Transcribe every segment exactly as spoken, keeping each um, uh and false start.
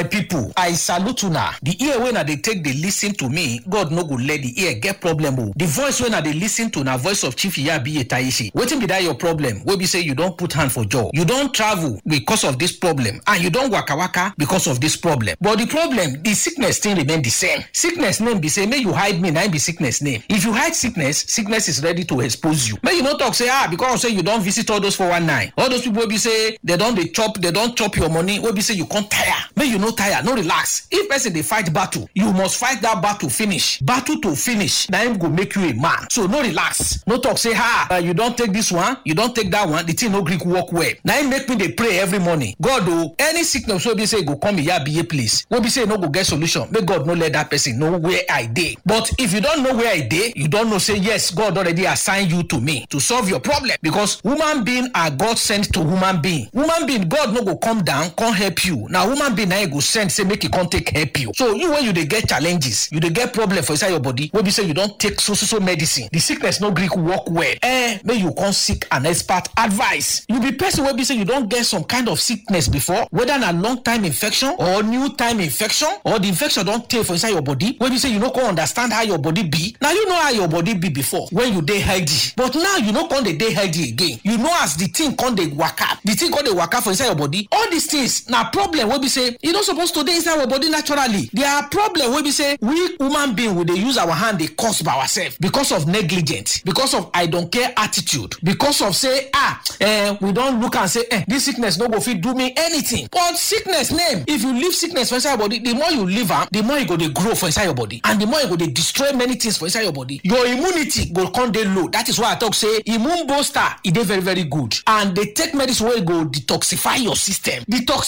People, I salute una. The ear wey una dey take dey listen to me, God no go let the ear get problem o. The voice wey una dey listen to na voice of Chief Iyabiye Tayeshi. Wetin be that your problem? Wey be say you don put hand for jaw. You don travel because of this problem, and you don waka waka because of this problem. But the problem, the sickness still remain the same. Sickness name be say, make you hide me, na im be sickness name. If you hide sickness, sickness is ready to expose you. Make you no talk say, ah, because say you don visit all those four one nine, all those people wey be say they don dey chop, they don chop your money, wey be say you come tire. Make you no tire, no relax. If person dey fight battle, you must fight that battle finish. Battle to finish, na im go make you a man. So no relax. No talk say, ha, uh, you don take this one, you don take that one, the thing no gree work well. Na im make me dey pray every morning. God o, any sickness wey be say e go come Iyabiye place, wey be say e no go get solution, make God no let that person know where I dey. But if you don know where I dey, you don know say yes, God already assign you to me to solve your problem, because human being are God sent to human being. Human being, God no go come down, come help you. Na human being na e go send say make e come take help you. So you, when you dey get challenges, you dey get problem for inside your body, wey be say you don take so so so medicine, the sickness no gree work well. Eh, make you come seek an expert advice. You be person wey be say you don get some kind of sickness before, whether na long time infection or new time infection, or the infection don tey for inside your body, wey be say you no come understand how your body be. Now you know how your body be before when you dey healthy, but now you no come dey dey healthy again. You know as the thing come dey waka, the thing come dey waka for inside your body. All these things na problem wey be say e no suppose to dey inside our body naturally. There are problem wey be say we human being, we dey use our hand dey cause by ourselves because of negligence, because of I don't care attitude, because of say, ah, eh, we don look and say, eh, this sickness no go fit do me anything. But sickness name, if you leave sickness for inside your body, the more you leave am, the more e go dey grow for inside your body, and the more e go dey destroy many things for inside your body. Your immunity go come dey low. That is why I talk say immune booster, e dey very very good, and dey take medicine wey go detoxify your system.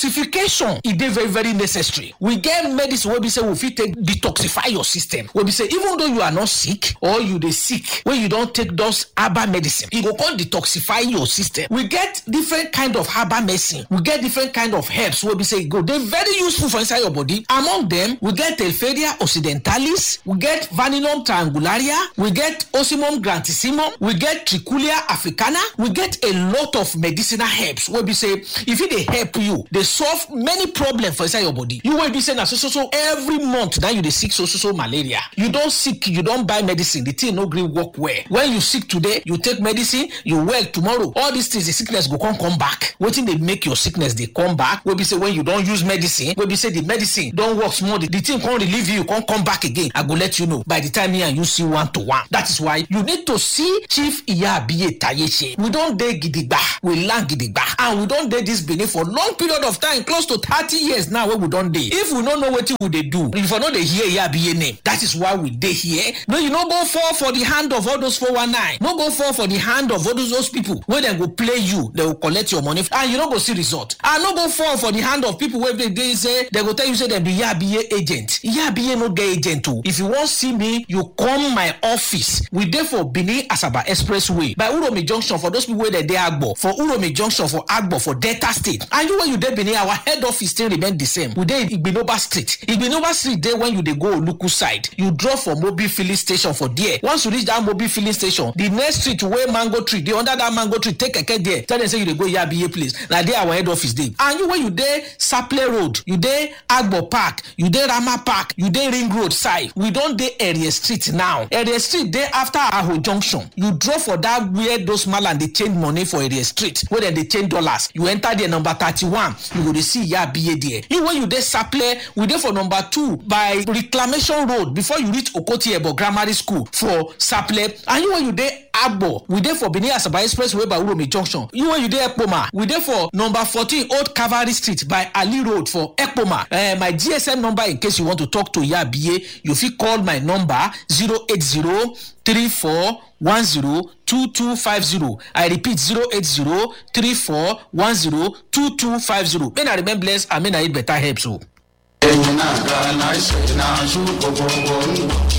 Detoxification, e dey very very necessary. We get medicine wey be say we fit take detoxify your system, wey be say even though you are not sick or you dey sick, wey you don take those herbal medicine, e go come detoxify your system. We get different kind of herbal medicine, we get different kind of herbs wey be say e go dey very useful for inside your body. Among them, we get Telferia occidentalis, we get Vaninum triangularia, we get Ocimum grantissimum, we get Trichulia africana, we get a lot of medicinal herbs wey be say e fit dey help you dey solve many problems for inside your body. You wey be say na so so so every month now you dey sick so so so malaria. You don sick, you don buy medicine, the thing no gree work well. When you sick today, you take medicine, you well tomorrow. All these things, the sickness go come come back. Wetin dey make your sickness dey come back? Wey be say when you don use medicine, wey be say the medicine don work small, the, the thing come relieve you, come come back again. I go let you know by the time me and you see one to one. That is why you need to see Chief Iyabiye Tayeche. We don dey gidigba, we land gidigba, and we don dey this Benin for long period of time, close to thirty years now wey we don dey. If we no know wetin we dey do, if we no dey hear Iyabiye name, that is why we dey here. No, you no go fall for the hand of all those four one nine. No go fall for the hand of all those, those people wey dem go play you, dem go collect your money, and you no go see result. I no go fall for the hand of people wey dey, dey say, dem go tell you say dem be Iyabiye agent. Iyabiye no get agent o. If you wan see me, you come my office. We dey for Benin Asaba Expressway by Uromi Junction for those people wey dey dey Agbo, for Uromi Junction for Agbo for Delta State. And you wey you dey Benin, our head office still remain the same. We dey Igbinoba Street. Igbinoba Street dey when you dey go Oluku side. You drop for Mobil filling station for there. Once you reach that Mobil filling station, the next street wey mango tree dey, under that mango tree, take keke there. Tell them say you dey go Iyabiye place. Na there our head office dey. And you wey you dey Saple Road, you dey Agbo Park, you dey Rama Park, you dey Ring Road side. We don dey Area Street now. Area Street dey after Aho Junction. You drop for that where those malam dey change money for Area Street, where dem dey change dollars. You enter there, number thirty-one, you go dey see Iyabiye there. You wey you dey Saple, we dey for number two by Reclamation Road before you reach Okoti Ebo Grammar School for Saple. And you wey you dey Agbo, we dey for Benin Asaba Expressway by Uromi Junction. You wey you dey Ekpoma, we dey for number fourteen Old Cavalry Street by Ali Road for Ekpoma. Eh, my G S M number, in case you want to talk to Iyabiye, you fit call my number, zero eight zero three four one zero two two five zero. I repeat, zero eight zero three four one zero two two five zero. May I remain blessed and may I eat better herbs o.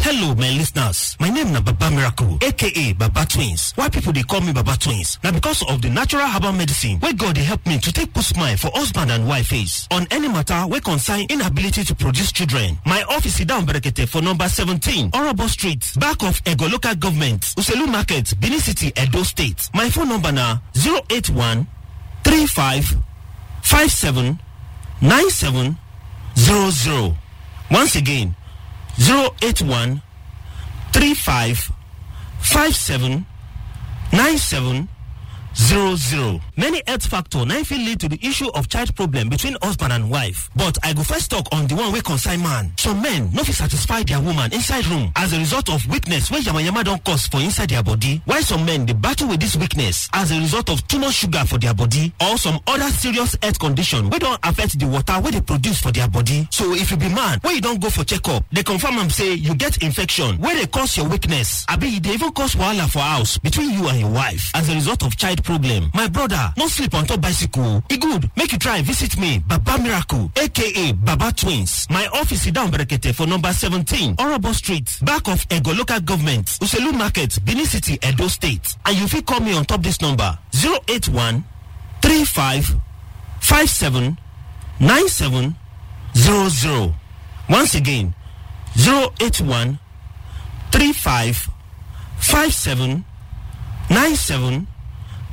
Hello, my listeners. My name na Baba Miracle, A K A Baba Twins. Why people dey call me Baba Twins? Na because of the natural herbal medicine wey God dey help me to take put smile for husband and wife face on any matter wey concern inability to produce children. My office sit down berekete for number seventeen, Orobo Street, back of Ego Local Government, Uselu Market, Benin City, Edo State. My phone number na zero eight one three five five seven nine seven zero zero. Once again, zero eight one three five five seven nine seven zero zero. Many health factor na fit lead to the issue of child problem between husband and wife. But I go first talk on the one wey concern man. Some men no fit satisfy their woman inside room as a result of weakness wey yamayama don cause for inside their body. Why some men dey battle with this weakness as a result of too much sugar for their body or some other serious health condition wey don affect the water wey dey produce for their body. So if you be man wey you don go for checkup, they confirm am say you get infection wey dey cause your weakness, abi e dey even cause wahala for house between you and your wife as a result of child problem. My brother, no sleep on top bicycle. E good, make you try visit me, Baba Miracle, A K A Baba Twins. My office is down Brekete for number seventeen, Orobo Street, back of Ego Local Government, Uselu Market, Benin City, Edo State. And you fit call me on top this number, zero eight one three five five seven nine seven zero zero. Once again, zero eight one three five five seven nine seven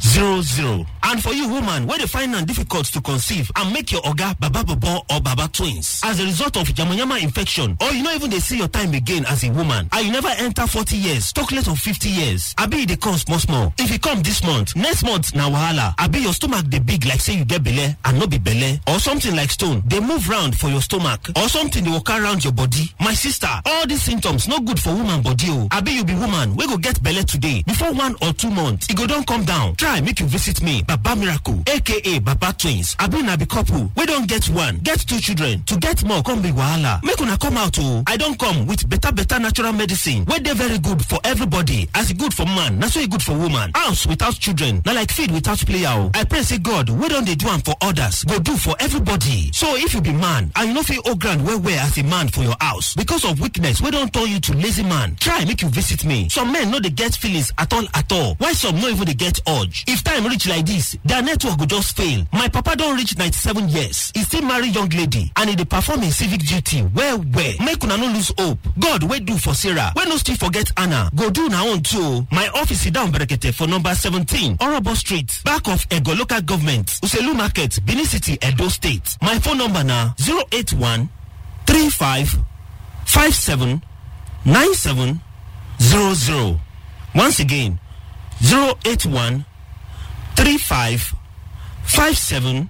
zero zero. And for you woman wey dey find am difficult to conceive and make your oga Baba Bobo or Baba Twins as a result of yamayama infection, or you no even dey see your time again as a woman, and you never enter forty years, talk less of fifty years, abi e dey come small small. If e come this month, next month na wahala, abi your stomach dey big like say you get belle and no be belle, or something like stone dey move round for your stomach, or something dey waka around your body. My sister, all these symptoms no good for woman body o. Abi you be woman wey go get belle today, before one or two months, e go don come down. Try make you visit me, Baba Miracle, A K A Baba Twins. Abi na be couple wey don get one, get two children, to get more come be wahala. Make una come out o. I don come with better better natural medicine wey dey very good for everybody. As e good for man, na so e good for woman. House without children na like field without player o. I pray say God wey don dey do am for others go do for everybody. So if you be man and you no fit hold ground well well as a man for your house because of weakness wey don turn you to lazy man, try make you visit me. Some men no dey get feelings at all at all, while some no even dey get urge. If time reach like this, their network go just fail. My papa don reach ninety-seven years, he still marry young lady and he dey perform him civic duty well well. Make una no lose hope. God wey do for Sarah, wey no still forget Anna, go do na own too. My office is down Brekete for number seventeen, Orobo Street, back of Ego Local Government, Uselu Market, Benin City, Edo State. My phone number na zero eight one three five five seven nine seven zero zero. Once again, zero eight one three five five seven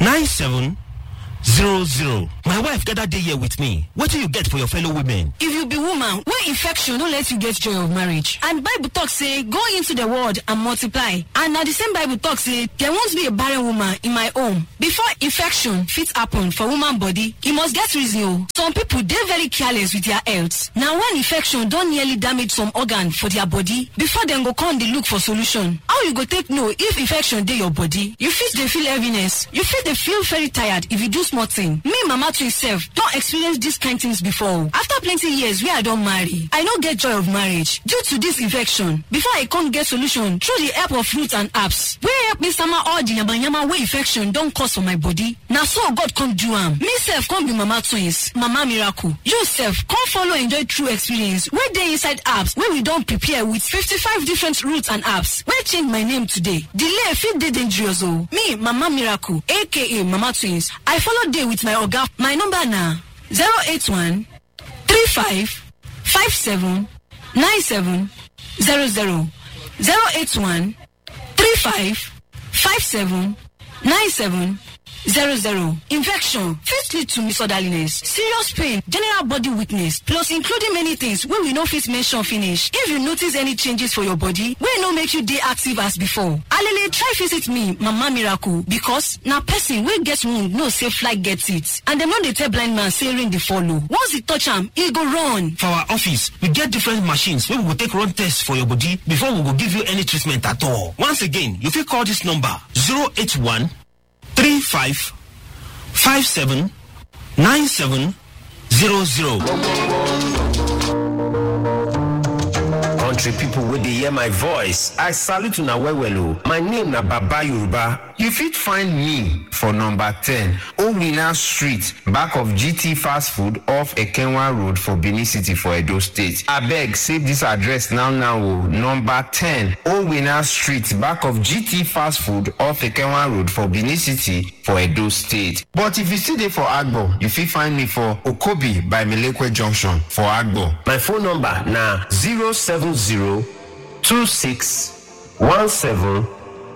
nine seven zero zero. My wife gather dey here with me. Wetin you get for your fellow women? If you be woman wey infection no let you get joy of marriage, and Bible talk say go into the world and multiply, and na the same Bible talk say there won't be a barren woman in my home. Before infection fit happen for woman body, e must get reason o. Some people dey very careless with their health. Na when infection don nearly damage some organ for their body, before dem go come dey look for solution. How you go take know if infection dey your body? You fit dey feel heaviness. You fit dey feel very tired if you do small thing. Me, Mama Twin sef, don experience dis kind things before. After plenty years wey I don marry, I no get joy of marriage due to dis infection. Before I come get solution through the help of roots and herbs, wey help me sama all the yamayama wey infection don cause for my body. Na so God come do am. Me sef come be Mama Twins, Mama Miracle. You sef come follow enjoy true experience wey dey inside herbs wey we don prepare with fifty-five different roots and herbs wey change my name today. Delay fit dey dangerous o. Me, Mama Miracle, A K A Mama Twins, I follow dey with my oga. My number na zero eight one three five five seven nine seven zero zero. Zero eight one three five five seven nine seven zero zero. Infection fit lead to misorderliness, serious pain, general body weakness, plus including many things wey we no fit mention finish. If you notice any changes for your body wey no make you dey active as before, alele try visit me, Mama Miracle, because na person wey get wound know say fly get it, and dem no dey tell blind man say rain dey follow. Once e touch am, e go run. For our office, we get different machines wey we go take run tests for your body before we go give you any treatment at all. Once again, you fit call this number, zero eight one three five five seven nine seven zero zero. Country people wey dey hear my voice, I salute una well well o. My name na Baba Yoruba. You fit find me for number ten, Owina Street, back of G T Fast Food off Ekenwa Road for Benin City for Edo State. Abeg, save this address now now o. Number ten, Owina Street, back of G T Fast Food off Ekenwa Road for Benin City for Edo State. But if you still dey for Agbo, you fit find me for Okobi by Melekwe Junction for Agbo. My phone number na zero seven zero two six one seven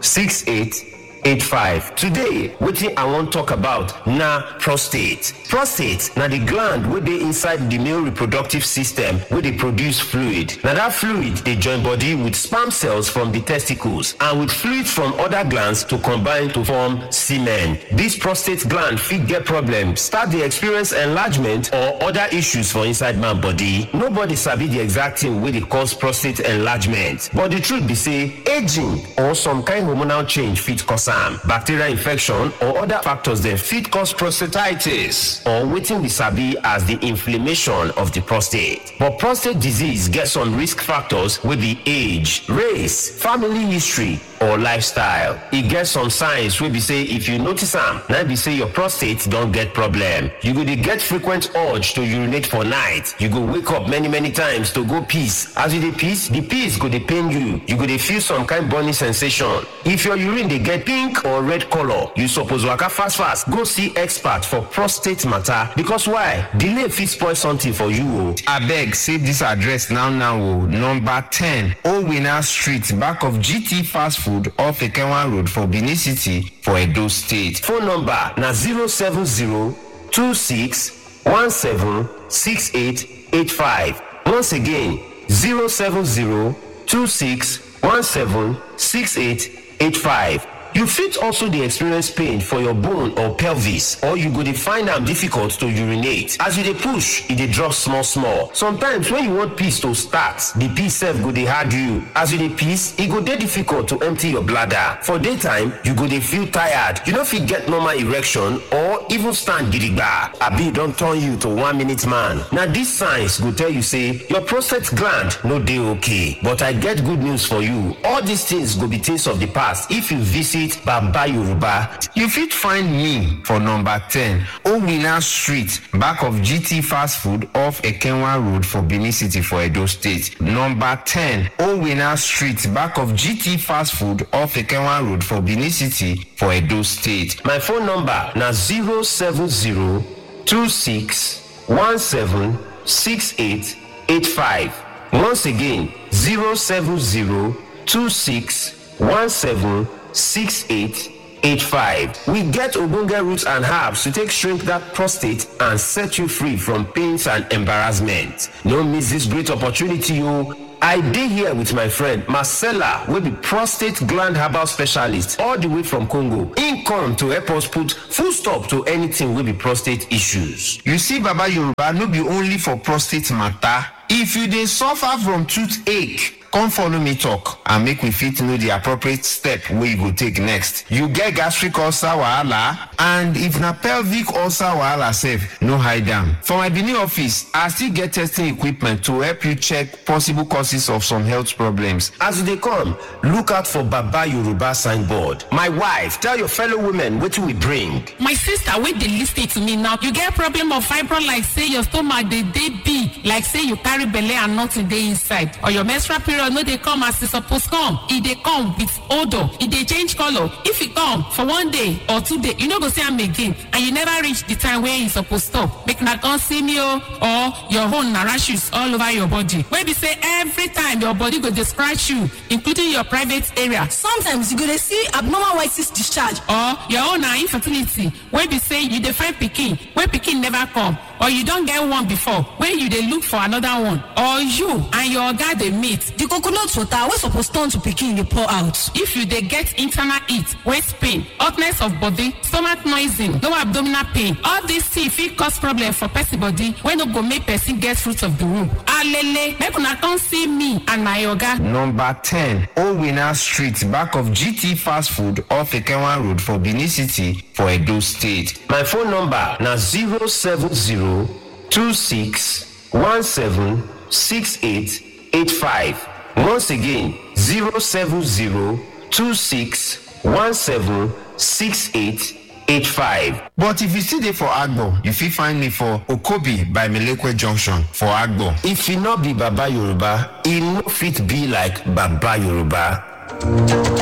six eight eight five. Today, wetin I wan talk about na prostate. Prostate na the gland wey dey inside the male reproductive system wey dey produce fluid. Na that fluid dey join body with sperm cells from the testicles and with fluids from other glands to combine to form semen. This prostate gland fit get problem, start dey experience enlargement or other issues for inside man body. Nobody sabi the exact thing wey dey cause prostate enlargement, but the truth be say aging or some kind hormonal change fit cause am. Bacterial infection or other factors dem fit cause prostatitis or wetin we sabi as the inflammation of the prostate. But prostate disease get some risk factors wey be age, race, family history, or lifestyle. E get some signs wey be say if you notice am, na be say your prostate don get problem. You go dey get frequent urge to urinate for night. You go wake up many many times to go piss. As you dey piss, the piss go dey pain you. You go dey feel some kind burning sensation. If your urine dey get pink or red color, you suppose waka fast fast go see expert for prostate matter, because why? Delay fit spoil something for you o. Abeg, save this address now now o. Number ten, Owina Street, back of G T Fast Food off Ekenwa Road for Benin City for Edo State. Phone number na zero seven zero two six one seven six eight eight five. Once again, zero seven zero two six one seven six eight eight five. You fit also dey experience pain for your bone or pelvis, or you go dey find am difficult to urinate. As you dey push, e dey drop small small. Sometimes when you want piss to start, the piss sef go dey hard you. As you dey piss, e go dey difficult to empty your bladder. For daytime, you go dey feel tired. You no fit get normal erection or even stand gidigba. Abi e don turn you to one minute man. Na these signs go tell you say your prostate gland no dey okay. But I get good news for you. All these things go be things of the past if you visit Baba Yoruba. You fit find me for number ten, Owina Street, back of G T Fast Food off Ekenwa Road for Benin City for Edo State. Number ten, Owina Street, back of G T Fast Food off Ekenwa Road for Benin City for Edo State. My phone number na zero seven zero two six one seven six eight eight five. Once again, zero seven zero two six one seven six eight eight five. We get ogbonge roots and herbs to take shrink that prostate and set you free from pains and embarrassment. No miss this great opportunity o. I dey here with my friend Marcella, wey be prostate gland herbal specialist all the way from Congo. Im come to help us put full stop to anything wey be prostate issues. You see, Baba Yoruba no be only for prostate matter. If you dey suffer from toothache, come follow me talk and make we fit know the appropriate step wey you go take next. You get gastric ulcer wahala, and if na pelvic ulcer wahala sef, no hide am. For my Benin office, I still get testing equipment to help you check possible causes of some health problems. As you dey come, look out for Baba Yoruba signboard. My wife, tell your fellow women wetin we bring. My sister wey dey listen to me now, you get problem of fibroid, like say your stomach dey dey big, like say you carry belle and nothing dey inside, or your menstrual period no dey come as e suppose come, e dey come with odour, e dey change colour. If e come for one day or two day, you no go see am again, and you never reach the time wey e suppose stop. Make una come see me o. Or your own na rashes all over your body, wey be say every time your body go dey scratch you, including your private area. Sometimes you go dey see abnormal white cyst discharge. Or your own na infertility, wey be say you dey find pikin, wey pikin never come, or you don get one before, wey you dey look for another one. Or you and your oga dey meet. The coconut water wey suppose turn to pikin dey pour out. If you dey get internal heat, waist pain, hotness of body, stomach noising, low abdominal pain, all these things fit cause problem for person body, wey no go make person get fruit of the womb. Alele, make una come see me and my oga. Number ten, Owina Street, back of G T Fast Food off Ekenwa Road for Benin City for Edo State. My phone number na zero seven zero two six one seven six eight eight five. Once again, zero seven zero two six one seven six eight eight five. But if you still dey for Agbo, you fit find me for Okobi by Melekwe Junction for Agbo. If e no be Baba Yoruba, e no fit be like Baba Yoruba.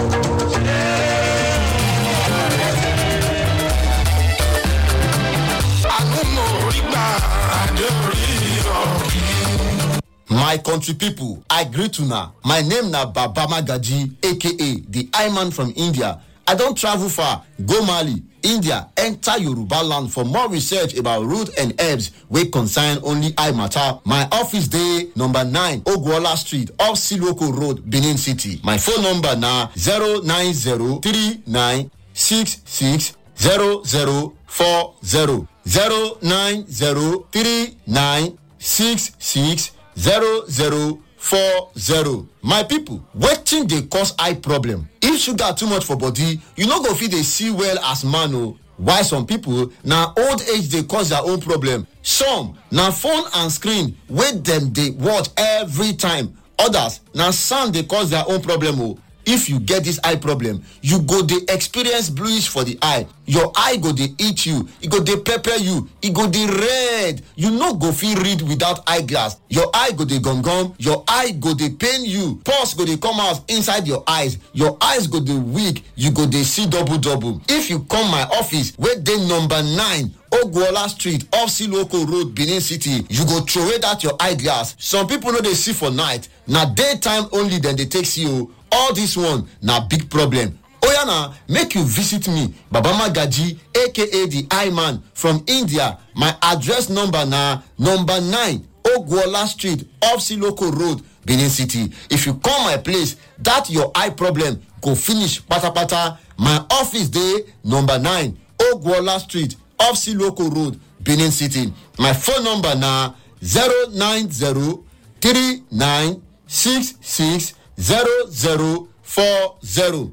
My country people, I greet una. My name na Baba Magaji, A K A the I Man from India. I don travel far, go Mali, India, enter Yoruba land for more research about root and herbs wey concern only eye matter. My office dey number nine Ogwola Street, off Siloko Road, Benin City. My phone number na zero nine zero three nine six six zero zero four zero. Zero nine zero three nine six six zero zero four zero. My people, wetin dey cause eye problem? If sugar too much for body, you no go fit dey see well as man o. Why some people na old age dey cause their own problem. Some na phone and screen wey dem dey watch every time. Others na sand dey cause their own problem o. If you get this eye problem, you go dey experience bluish for the eye. Your eye go dey eat you, e go dey pepper you, e go dey red. You no go fit read without eyeglass. Your eye go dey gum gum, your eye go dey pain you. Pus go dey come out inside your eyes. Your eyes go dey weak, you go dey see double double. If you come my office wey dey number nine Ogwola Street, off Siloko Road, Benin City, you go throway that your eyeglass. Some people no dey see for night, na daytime only dem dey take see o. All this one na big problem. Oya na, make you visit me, Baba Magaji, A K A the I Man from India. My address number na number nine Ogwola Street, off Siloko Road, Benin City. If you come my place, that your eye problem go finish patapata. My office dey number nine Ogwola Street, off Siloko Road, Benin City. My phone number na zero nine zero three nine six six zero zero four zero.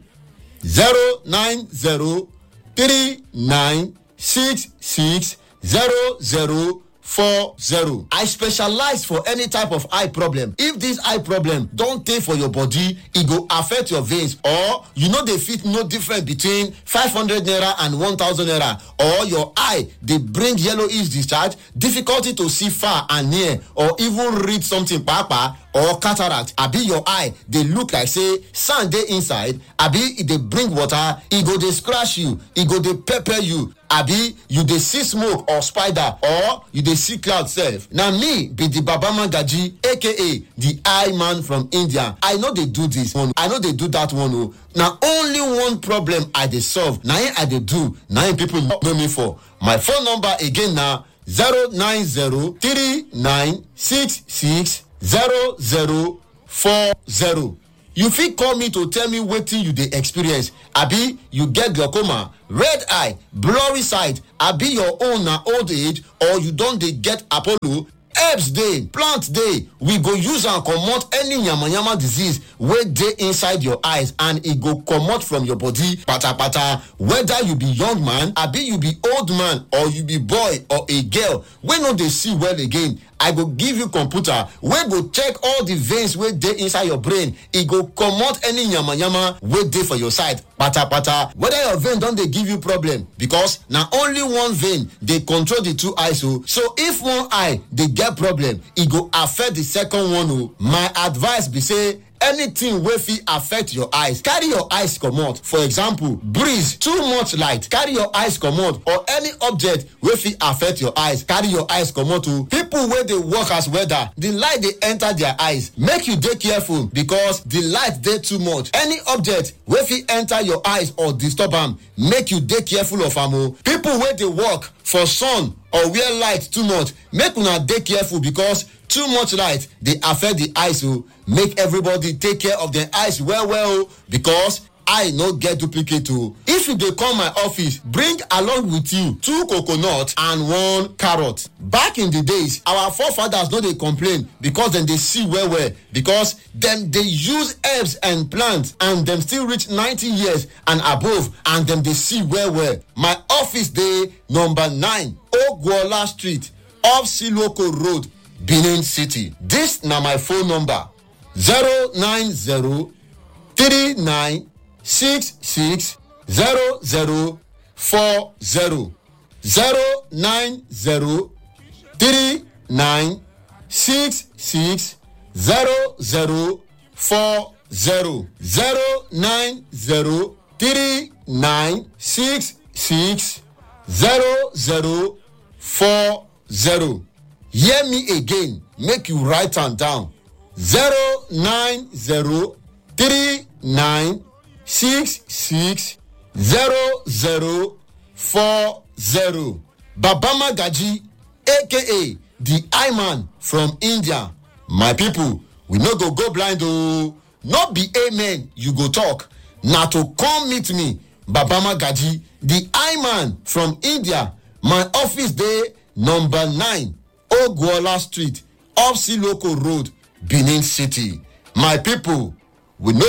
Zero nine zero three nine six six zero zero four zero. I specialize for any type of eye problem. If this eye problem don tey for your body, e go affect your veins, or you no dey fit know difference between five hundred naira and one thousand naira, or your eye dey bring yellowish discharge, difficulty to see far and near, or even read something papa, or cataract, abi your eye dey look like say sand dey inside, abi e dey bring water, e go dey scratch you, e go dey pepper you, abi you dey see smoke or spider, or you dey see cloud sef. Na me be the Baba Magaji, A K A the I Man from India. I no dey do this one, I no dey do that one o. Na only one problem I dey solve, na im I dey do, na im people know me for. My phone number again na zero nine zero three nine six six zero zero four zero. You fit call me to tell me wetin you dey experience. Abi you get glaucoma, red eye, blurry sight, abi your own na old age, or you don dey get Apollo. Herbs dey, plant dey, we go use am comot any yamayama disease wey dey inside your eyes, and e go comot from your body patapata. Whether you be young man, abi you be old man, or you be boy or a girl wey no dey see well again, I go give you computer wey go check all the veins wey dey inside your brain. E go comot any yamayama wey dey for your side patapata. Whether your vein don dey give you problem, because na only one vein dey control the two eyes o. So if one eye dey get problem, e go affect the second one o. My advice be say, anything wey fit affect your eyes, carry your eyes comot. For example, breeze, too much light, carry your eyes comot, or any object wey fit affect your eyes, carry your eyes comot o. People wey dey work as welder, the light dey enter their eyes. Make you dey careful, because the light dey too much. Any object wey fit enter your eyes or disturb am, make you dey careful of am o. People wey dey work for sun or wear light too much, make una dey careful, because too much light dey affect the eyes o. Make everybody take care of their eyes well well o, because eye no get duplicate o. If you dey come my office, bring along with you two coconut and one carrot. Back in the days, our forefathers no dey complain because dem dey see well well, because dem dey use herbs and plants, and dem still reach ninety years and above, and dem dey see well well. My office dey number nine Ogwola Street, off Siloko Road, Benin City. This na my phone number, zero nine zero three nine six six zero zero four zero. Zero nine zero three nine six six zero zero four zero. Hear me again, make you write am down. Zero nine zero three nine six six zero zero four zero. Baba Magaji, A K A the I Man from India. My people, we no go go blind o. No be amen you go talk. Na to come meet me, Baba Magaji, the I Man from India. My office dey number nine, Ogwola Street, off Siloko Road, Benin City. My people, we no